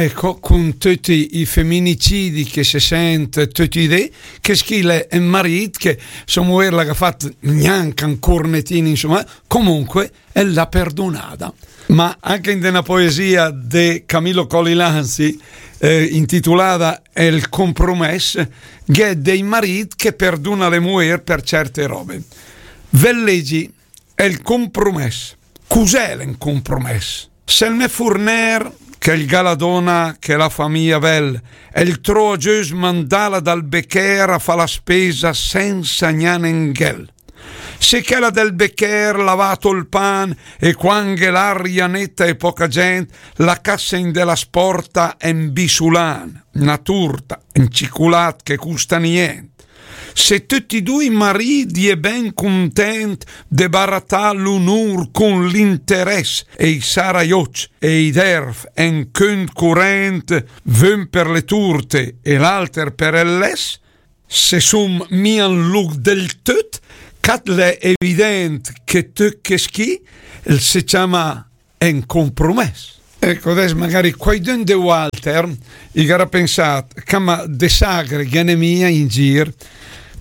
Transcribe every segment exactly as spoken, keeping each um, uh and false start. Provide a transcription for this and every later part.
Ecco, con tutti i femminicidi che se sente tutti i dì, che schile è un marito che sua moglie l'ha fatto neanche un cornettino, insomma, comunque e l'ha perdonata. Ma anche in una poesia di Camillo Colli Lanzi, eh, intitolata El compromès, gh'è dei mariti che perdona le mujer per certe robe. Ve leggi El compromès. Cos'è l'en compromès? Se el me furner, che el gh'à la dona, che la famiglia bel, el trova giöst mandala dal becher a fa la spesa senza gnà nen ghel. Se chela del becher la va a tol pan e quanghe l'aria neta e poca gent, la cassa in de la sporta en bisulan, na turta, en ciculat che custa nient. Se tutti dui maridi è ben content de baratà l'onor con l'interess e i saraioc e i derf en cunt curent, vün per le turte e l'alter per el less, se sum mia in luc del tut, cat l'è evident che tut che schi el se ciama en compromès. Ecco, adess magari quaidün de valter i gh'arà pensat, cama de sagre ghe n'è mia in gir,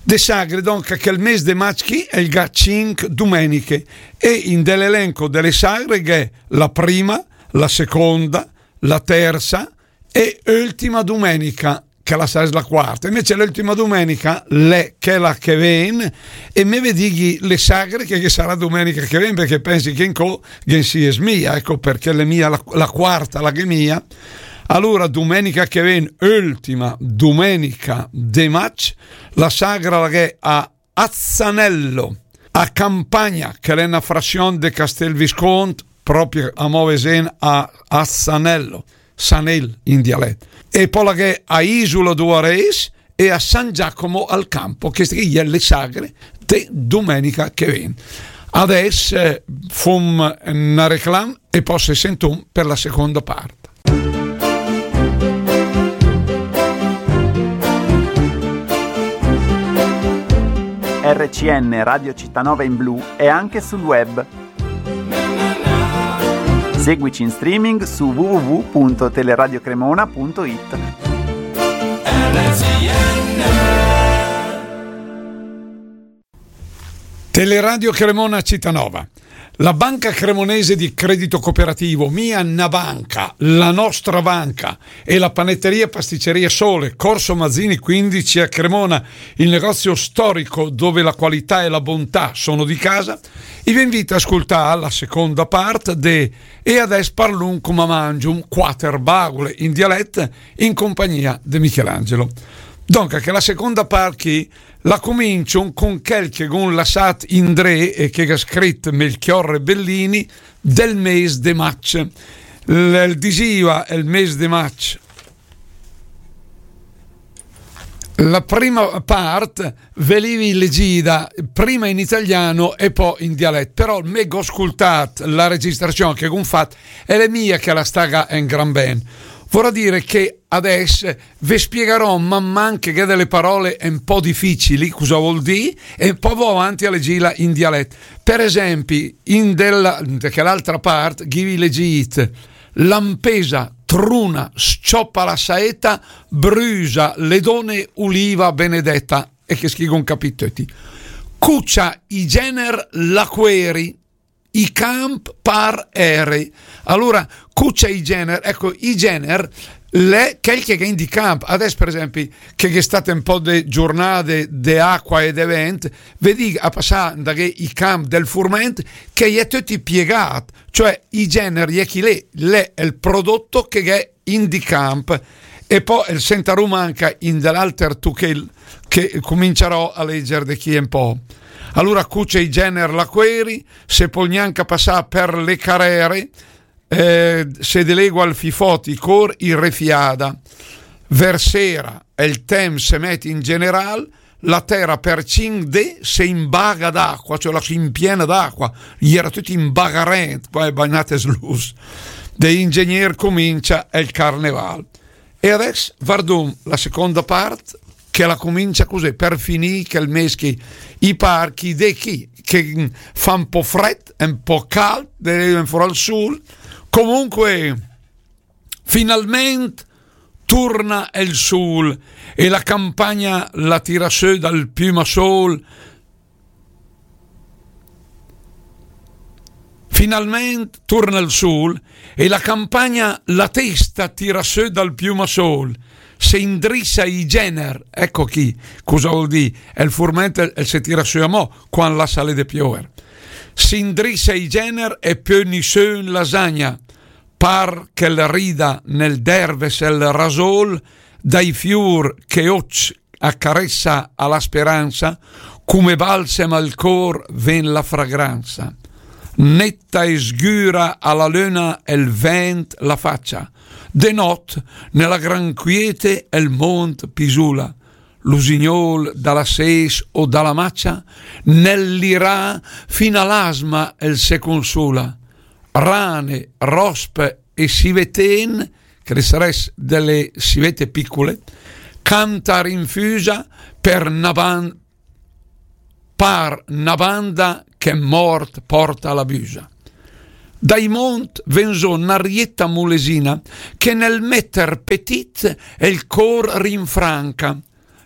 de sagre, donc, che el mes de maig chi el gh'à cinc domeniche, e in de l'elenco de le sagre gh'è la prima, la seconda, la terza e ultima domenica, che la sarès la quarta. Invece l'ultima domenica l'è chela che ven, e me ve dighi le sagre che, che sarà domenica che ven, perché pensi che incò ghe si es mia, ecco perché l'è mia la, la quarta, la gh'è mia. Allora, domenica che ven, ultima domenica de maig, la sagra la gh'è a Azzanello, a Campagna, che l'è na frazion de Castel Viscont, proprio a mo vesen a Azzanello, Sanel in dialet. E po la gh'è a Isola d'Uares e a San Giacomo al Campo, che i è le sagre de domenica che ven. Adess, eh, fum na reclam e po se sentum per la seconda part. R C N Radio Città Nova in Blu è anche sul web. Seguici in streaming su w w w punto teleradio cremona punto it. Teleradio Cremona Città Nova. La Banca Cremonese di Credito Cooperativo, mia na banca, la nostra banca, e la panetteria pasticceria Sole, Corso Mazzini quindici a Cremona, il negozio storico dove la qualità e la bontà sono di casa, i ve invita a ascoltare la seconda parte de E adess parlum coma mangium, quater bagule in dialet in compagnia de Michelangelo. Donca, che la seconda part chi la comincium con quel che gh'um lassat indré e che gh'ha scrit Melchiorre Bellini del mes de maig. L-, el disiva el mes de maig. La prima part ve l'ivi legida prima in italiano e po in dialet, però me gh'ho scultat la registrazion che gh'um fat e l'è mia che la staga en gran ben. Vorrà dire che adess ve spiegarò man man che gh'è delle parole un po' difficili, cosa vol dì, e po vo avanti a leggila in dialet. Per esempi, in della, in quell'altra part, ghivi legit, lampesa, truna, s-ciopa la saeta, brüsa, le done, uliva benedeta, e che schi gh'um capit töti. Cucia i gener la queri, i camp par eri. Allora, cucia i gener, ecco, i gener l'è quel che gh'è in di camp. Adess, per esempi, che gh'è stat un po' de giornade de acqua e de vent, vedì a passà da i camp del furment che i è töti piegat, cioè i gener i è chi lì, l'è il prodotto che gh'è in di camp. E po el sentarum anca in de l'alter tuchel che cominciarò a legger de chi un po'. Allora, cucia i gener la queri, se pol gnanca passà per le carere, eh, se delegua il fifot, i cor i refiada. Versera, el temps se met in general, la tera per cinc dé se imbaga d'acqua, cioè la s'impiena d'acqua, i era tutti imbagarent, qua è bagnat e slus. De ingegner comincia el carneval. E adess vardum la seconda part, che la comincia cusì, per finì che el mes chi, i par chi de chi, che fa un po' fred, un po' cald, de fora al sul, comunque Finalment turna el sul e la campagna la tira sö dal piümasol. Finalment turna el sul e la campagna la testa tira sö dal piümasol. Se indrissa i gener, ecco chi, cosa vol dì? El furment el, el se tira sö amò, quan lassa lé de piöver. Se indrissa i gener e piö nisün la sagna. Par che la rida nel derves el rasol, dai fiur che oc accarezza a la speranza, come balsem al cor ven la fragranza. Netta e sgüra a la löna el vent la faccia. De not, nella gran quiete, el mont pisula. L'usignol da la ses o da la maccia, nel lirà fin a l'asma el se consula. Rane, rospe e siveten, che le sarès delle sivete piccole, canta rinfusa per na ban-, par na banda che mort porta la büsa. Dai mont ven zó na rietta mulesina che nel metter petit el cor rinfranca.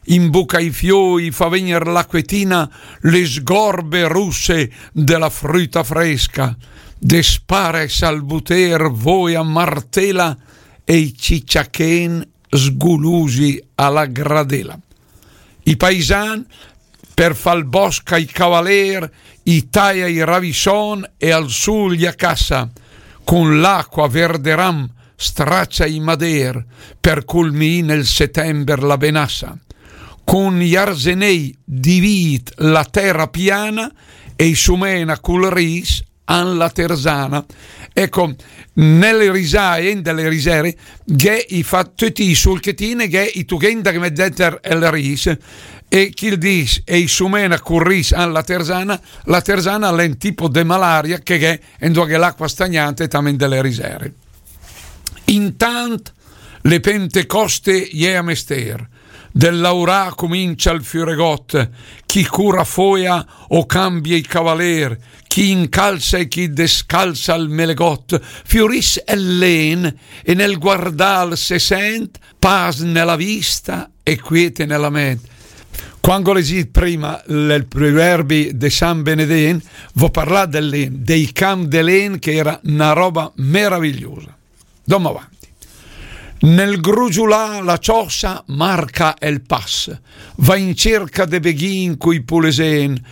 In buca i fioi fa vegner l'acquetina le sgorbe russe de la früta fresca. De spare salbuter voia martela e i cicciachen sgulusi a la gradela. I paisan, per fal bosc ai cavaler, i taia i ravison e al sul i a cassa. Con l'acqua verderam straccia i mader, per culmì nel setember la benassa. Con i arzenei divit la terra piana e i sumena cul ris an la terzana. Ecco, nelle risae, in delle risere, gh'è i fa tutti i sulchetine, gh'è i tughen da che met denter el ris, e chi el dis, e i sumena cul ris an la terzana, la terzana l'è un tipo de malaria che gh'è, e dua gh'è l'acqua stagnante, tamen delle risere. Intant le Pentecoste i è a mester, del laurà comincia il fiuregot, chi cura foia o cambia i cavaler, chi incalza e chi descalza il melegot, fiuris el len e nel guardal se sent pas nella vista e quiete nella ment. Quando ho leggit prima il proverbi de San Benedent, v'ho parlat del len, dei camp de len, che era una roba meravigliosa. Dom avanti. Nel grugiulà la ciossa marca el pas, va in cerca de beghin cui pulesen,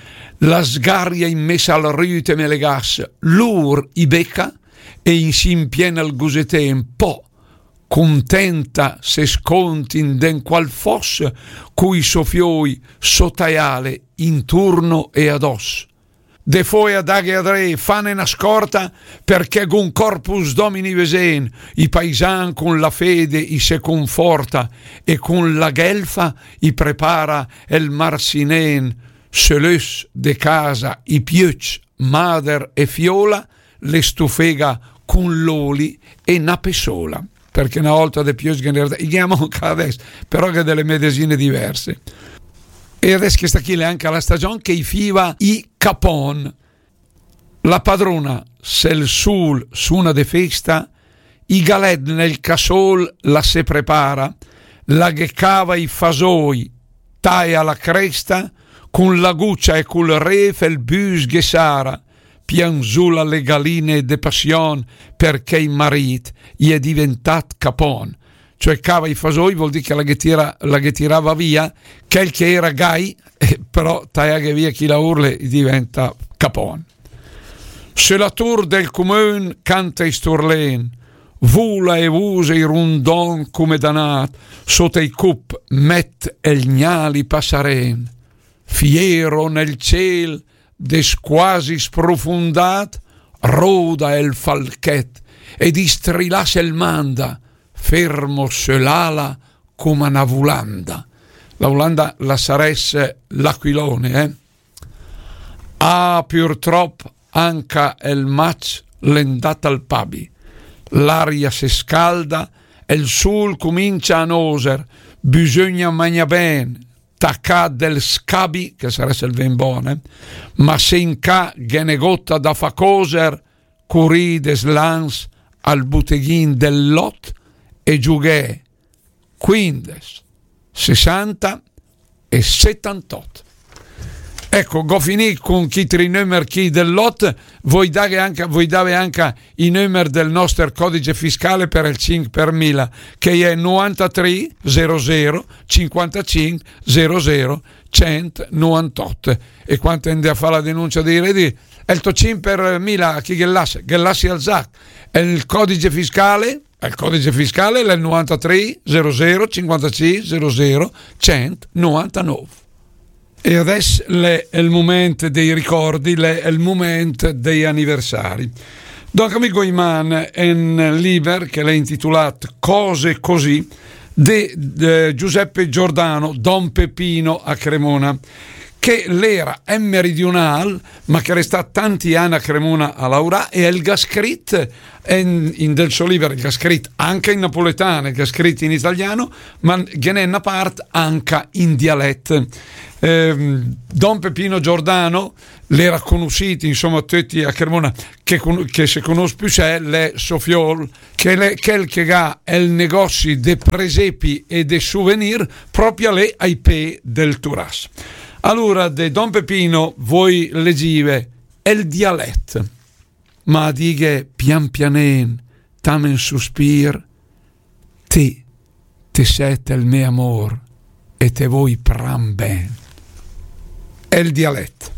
la sgaria in mes al rüt e melegas, lur i beca e in si impiena el guseten, po, contenta, se scont in den qual fos, cui so fioi, so taiale, inturno e ados. De foia daghe adré, fane na scorta, perché gun Corpus Domini vesen, i paisan cun la fede i se conforta, e cun la ghelfa i prepara el marsinen, sö l'ös de casa, i piöcc, mader e fiola, le stufega cun l'oli e na pessola. Perché na olta de piö ghe n'era, i ghe n'è anca adess, però gh'è delle medesine diverse. E adess chesta chì l'è anca la stagion che i fiva i capon. La padrona, se il sul suna de festa, i galet nel casol la se prepara, la ghe cava i fasoi, taia la cresta, cun la gucia e cul ref el büs ghe sara, pianzula le galine de passion, perché i marit i è diventat capon. Cioè, cava i fasoi vuol dire che la ghe tira, la ghe tirava via quel che era gai, eh, però taiaghe via chi laur lé i diventa capon. Sö la tur del cumun canta i sturlen, vula e vusa i rundon cume danat, sota i cup met el gnal i passaren. Fiero nel ciel des quasi sprofundat, roda el falchet ed i strilas el manda, fermo sö l'ala coma na vulanda. La vulanda la saress l'aquilone, eh? Ah, purtrop anca el maig l'è 'ndat al pabi. L'aria se scalda, el sul cumincia a noser, bisogna magna ben, tacà del scabi, che saress el ven bon, eh? Ma se in ca ghe n'è gota da fa coser, curì des lans al buteghin del lot e giughè quindes, sessanta e settantotto. Ecco, go finì con chi tri nömer chi del lot, voi dare anche, voi dare anche i nömer del nostro codice fiscale per il cinque per mille, che è novantatré zero zero cinquantacinque zero zero centonovantotto. E quando andate a fare la denuncia dei redditi, è il to cinque per mille, chi che lascia, che lascia al zac, è il codice fiscale, il codice fiscale è il novantatré zero zero cinquantacinque zero zero centonovantotto. E adess l'è el moment dei ricordi, l'è el moment dei anniversari. Donc, amico Iman, en liber che l'è intitolat Cose così, de, de Giuseppe Giordano, Don Peppino a Cremona, che l'era en meridional, ma che l'è stat tanti ann a Cremona a laurà, e el ga scrit en, in del so liber, el ga scrit anca in napoletan, el ga scrit in italiano, ma ghe n'è na part anca in dialet. Ehm, Don Peppino Giordano l'era conussit, insoma, töcc a Cremona, che con-, che se conus püsè l'è so fiol, che l'è chel che ga el negozi de presepi e de souvenir propia lé ai pé del Turas. Alura, de Don Peppino, voi legive el dialet. Ma dighe pian pianen, tam en suspir, te, te set el me amor e te voi pran ben. El dialet.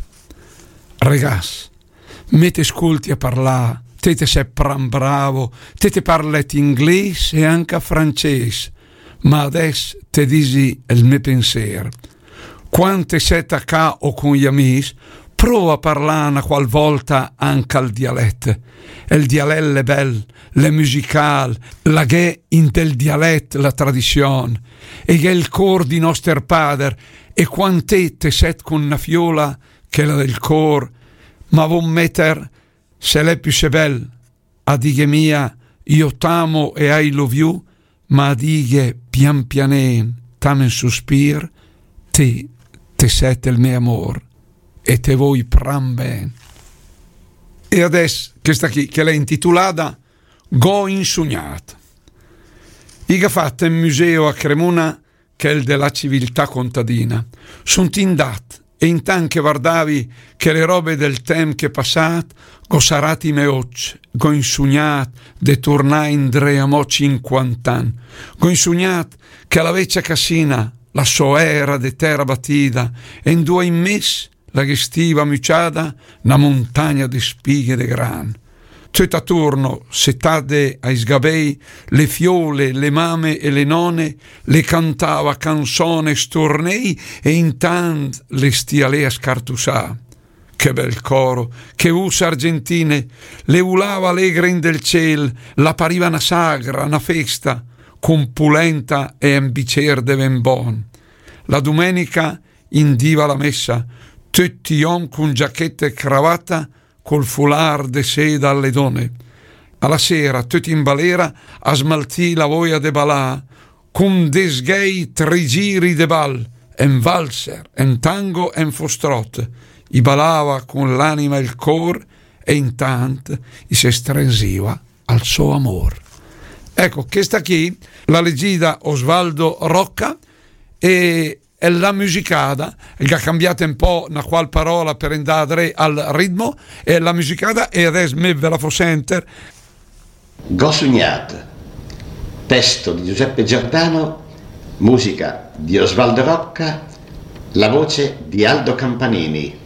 Regas, me te sculti a parlà, te te set pran bravo, te te parlet ingles e anca frances, ma adess te disi el me penser. Quand te set a ca o con i amis, prova a parlà na qual volta anca el dialet. El dialet l'è bel, l'è musical, la gh'è in del dialet la tradizion, e gh'è el cor di noster pader, e quand te te set con na fiola, chela del cor, ma von meter, se l'è püsè bel, a dighe mia, io t'amo e I love you, ma a dighe pian pianen, tam en suspir, te, te set el me amor, e te voi pran ben. E adess, chesta chi, che l'è intitulada Go insugnat. I ga fat en museo a Cremona chel de la civiltà contadina. Sunt indat, e intant che vardavi chele robe del temp che passat, go sarat i me oc, go insugnat de turnà indré amò cinquant'ann. Go insugnat che la vecia casina, la so era de tera batida, e indua in mes la ghe stiva muciada na montagna de spighe de gran. Töt aturno, setade ai sgabei, le fiole, le mame e le none le cantava canzone e stornei, e intant le stia lé a scartusà. Che bel coro, che vus argentine, le vulava alegre in del ciel, la pariva na sagra, na festa, con pulenta e en bicer de ven bon. La dumenica indiva la messa, töt i om con giacheta e cravata, col folar de seda alle done. A la sera, töt in balera, a smaltì la voia de balà, con de sghei tri giri de bal, en valzer, en tango, en fostrot. I balava con l'anima e el cor, e intant i se strenziva al so amor. Ecco, chesta chi l'ha legida Osvaldo Rocca, e la musicada, che ha cambiato un po' na qual parola per andare al ritmo, e la musicada, e adess me ve la fo senter. Go sugnat, testo di Giuseppe Giordano, musica di Osvaldo Rocca, la voce di Aldo Campanini.